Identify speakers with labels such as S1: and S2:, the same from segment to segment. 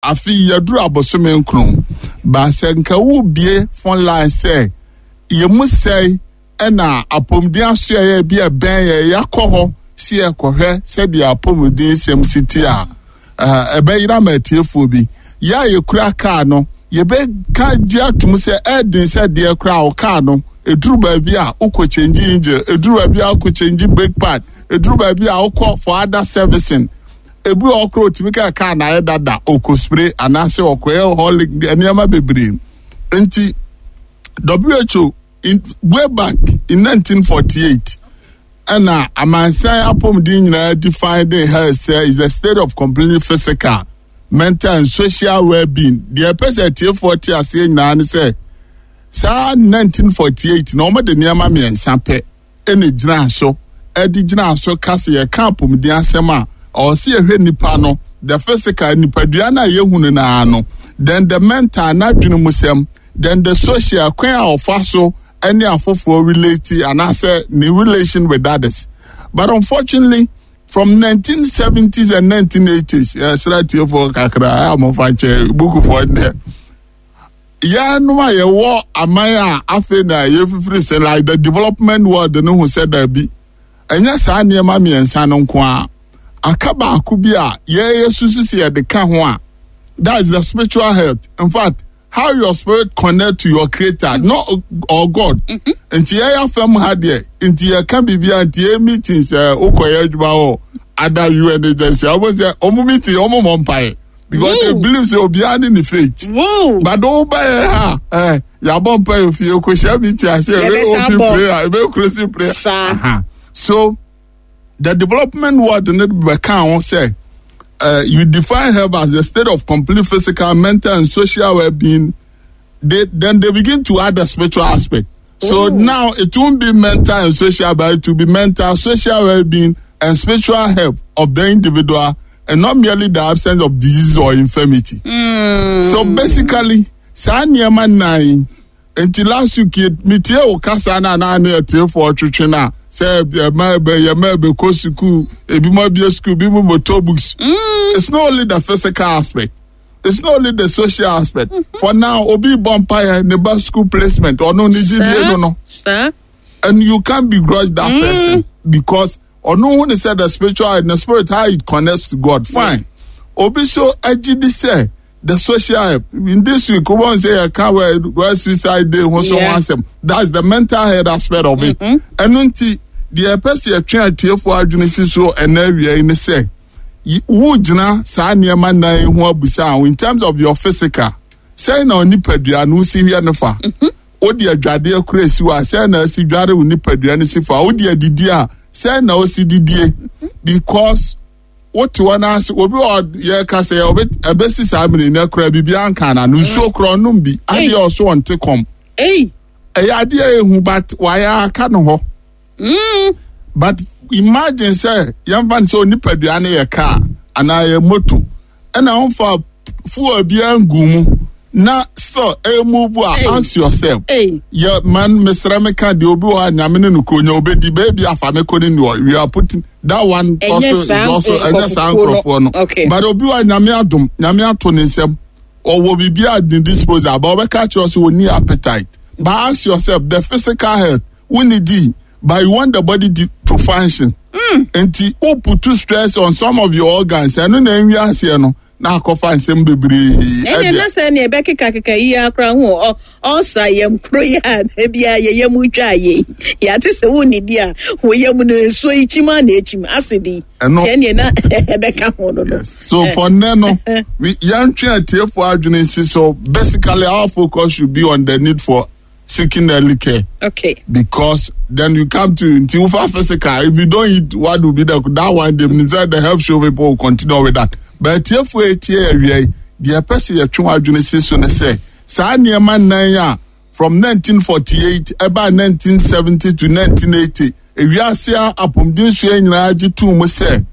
S1: Afei yɛduru abosome nkron. Ba sɛ nka wobie phone line sɛ yɛmu sɛe ɛna apɔmuden asoɛeɛ bi a ɛbɛn yɛ yɛakɔ hɔ si yɛkɔhwɛ sɛdeɛ apɔmuden sɛm si te a, ɛbɛyera ma atiefoɔ bi. Yɛ a yɛkura kaa no, yɛbɛka gye atom sɛ ɛden sɛ deɛ koraa wo kaa no, ɛduru baabi a wokɔ kyɛngye engine, ɛduru baabi a wokɔ kyɛngye brake pad, ɛduru baabi a wokɔ for other servicing. Ebi wɔ hɔ koraa otumi ka kaa na ayɛ dada, ɔkɔ spray anaasɛ ɔkɔyɛ holic nneɛma bebree. Nti WHO in, way back in 1948 ɛna amansan apɔmuden nyinaa define the health sɛ is a state of complete physical, mental and social well-being. Deɛ ɛpɛ sɛ atiefoɔ te aseɛ nyinaa ne sɛ saa 1948 na wɔde nneɛma mmiɛnsa pɛ ɛna gyinaa so ɛde gyinaa so ka sɛ yɛka apɔmuden asɛm a ɔwɔ sɛ yɛhwɛ nipa no the physical nipadua no a yɛhunu no ara no, then the mental n'adwene mu sɛm, then the social kwan a ɔfa so ɛne afoforɔ relate anaasɛ ne relation with others. But unfortunately, from 1970s and 1980s, yɛsrɛ atiefoɔ kakra a mofa nkyɛ bukufoɔ nnɛ yɛnom a yɛwɔ aman a afei na yɛfifiri sɛ like the development world no ho sɛ daabi, ɛnyɛ saa nneɛma mmiɛnsa no nko a aka baako bi a yɛyɛ susu sɛ yɛde ka ho a, that is the spiritual health. In fact, how your spirit connect to your creator, not or God. Nti yɛyɛ afɛm ha deɛ nti yɛka biribi a nti yɛ meetings ɛ wokɔyɛ adwuma wɔ ada UN agency a wɔn sɛ wɔn meeting wɔn mɔ mpaeɛ because they believe sɛ obiara ne ne faith. But wo ba yɛ ha ɛ yabɔ mpaeɛ fie kò hyɛ meeting ase ebe
S2: Yɛbɛsan
S1: open
S2: bɔ.
S1: prayer ebe closing prayer.
S2: Saa.
S1: So the development world ne bɛka ho sɛ you define health as a state of complete physical, mental, and social well-being. Then they begin to add the spiritual aspect. So now it won't be mental and social, but it will be mental, social well-being, and spiritual health of the individual, and not merely the absence of disease or infirmity. So basically, saa nneɛma nnan nti last week metie wo kasa no anaa ne atiefoɔ twetwe no a sɛ ɛma ɛbɛ yɛma ɛbɛkɔ sukuu, ebi mo abie sukuu, ebi mo motor books. It's not only the physical aspect, it's not only the social aspect. For now, obi bɔ mpaeɛ ne ba school placement, ɔno ne gyidie no,
S2: saa
S1: and you can't begrudge that person because ɔno hu ne sɛ the spiritual, the spirit, how it connects to God, fine. Obi so agye di sɛ the social help in this week wɔn sɛ yɛ ka wɛ suicide day ho so ho asɛm, that's the mental health aspect of it. Ɛno nti deɛ ɛpɛ sɛ yɛtwe atiefoɔ adwene si so ɛnɛ awia yi ne sɛ wo gyina saa nneɛma nnan yi ho abusa ho in terms of your physical, sɛn na onipadua no wosi hwɛ no fa, wode adwadeɛ kora esi hɔ a, sɛn na asi dware wo nipadua no si fa, wode adidi a, sɛn na osi didie, because wote hɔ n'ase obi wɔ yɛka sɛ ɔbɛ ɛbɛsi saa mmiri ne kora biribi anka na no nsuo kora ɔnom bi adeɛ ɔso ɔnte kɔm.
S2: Ei.
S1: Ɛyɛ adeɛ a ehu, but wayɛ aka no hɔ. But imagine sɛ yɛmfa no sɛ onipadua no yɛ car anaa yɛ moto ɛna wɔmfa fuel biara ngu mu na still ɛyɛ move a,
S2: Hey.
S1: ask yourself.
S2: Ei.
S1: Yɛ man mesrɛ me ka deɛ obi wɔ hɔ a Nyame ne no kuro nya obɛdi baabi afa me kɔ ne ni we are putting that one
S2: Ɛnyɛ
S1: also is
S2: saa,
S1: also ɛnyɛ saa
S2: nkurɔfokuo no.
S1: nkurɔfoɔ no. But obi wɔ a Nyame adom, Nyame ato ne nsam, ɔwɔ biribi a ne disposal but ɔbɛka kyerɛ sɛ ɔni appetite. But ask yourself, the physical health wonni di but you want the body to function, nti wo put stress on some of your organs, ɛno na ɛnwi aseɛ no na akɔfa nsɛm bebree.
S2: Ɛnna
S1: ɛdeɛ.
S2: Na sɛ nea ɛbɛkekakeka yi akora ho ɔsa yam kuro yi a ebia yɛyɛ mu twa yɛ yɛate sɛ wonnidi a wɔyɛ mu no nsuo yi kyim a na ekyim asedi. Tiɛ nea na ɛbɛka ho no.
S1: Yes. So for now, no, we yɛntwe atiefoɔ adwene nsi so basically our focus should be on the need for seeking early care. Because then you come to nti wofa physical, if you don't eat, what will be the that one day inside the health show, people will continue with that. But atiefoɔ etie awia yi deɛ ɛpɛ sɛ yɛtwe wɔn adwene si so ne sɛ saa nneɛma nnan a from 1948 ɛbaa 1970 to 1980 ewiase a apɔmuden sua nyinaa gye tum mu sɛ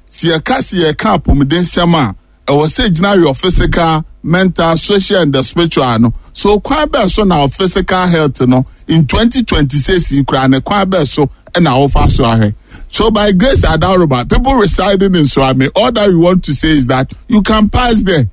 S1: sɛ yɛka sɛ yɛka apɔmuden nsɛm a ɛwɔ sɛ gyina your physical, mental, social and the spiritual no. So kwan bɛɛ so na physical health no in 2026 yi koraa ne kwan bɛɛ so ɛna wofa so ahwɛ? So by grace adaroba, people residing in Suame, all that we want to say is that you can pass there.